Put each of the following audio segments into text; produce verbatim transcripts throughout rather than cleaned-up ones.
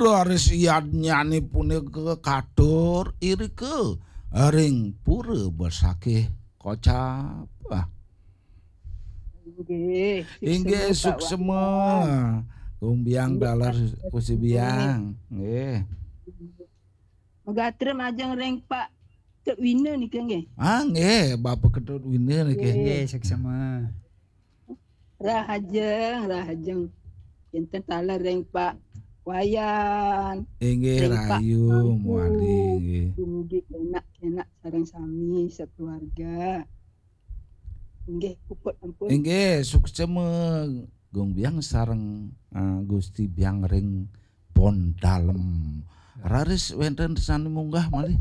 Raris yadnyane punika katur irika ring pura besakih kocap. Ah, Nggih, inggih, suksema, Pak suksema. Wayan. Gung Biang Nggih, taler Pak. Kusi Biang. Nggih. Megatrem ajeng ring Pak Tut Wina nika nggih. Ah, nggih, Bapak Ketut Wina niki. Nggih. Nggih, suksema. Rahajeng, rahajeng. Kinten taler ring Pak Wayan, Inggih, ring Pak rahayu Mangku. Muali nggih. Dumugi kenak-kenak sareng sami sekeluarga. Inggih, puput ampun. Inggih, suksema Gung Biang sareng, ah, Gusti Biang ring pon dalem. Raris wenten sane munggah malih.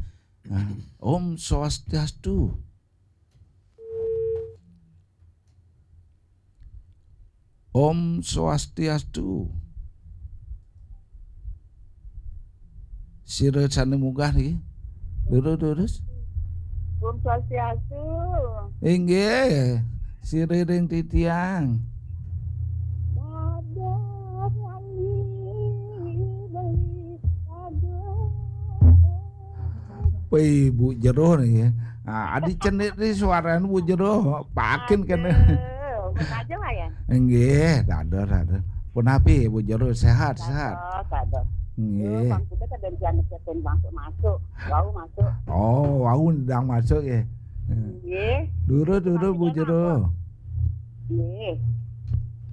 Ah, Om Swastiastu. Om Swastiastu. Sira sane munggah niki. Durus, durus. Om Swastiastu. Inggih, siriring titiang. Dadah lali beli dadah. Wih, Bu Jero nih ya. Ah, adi cenit nih suaranya Bu Jero. Pakin kene. Aduh, sengaja lah ya. Inggih, dados, dados. Punapi Bu Jero, sehat, sehat. Dados, dados. Nggih. Bang kita kadang jangan cetin masuk-masuk. Wau masuk. Oh, wau ndang masuk ya. Nggih. Durus, durus Bu Jero. Nggih.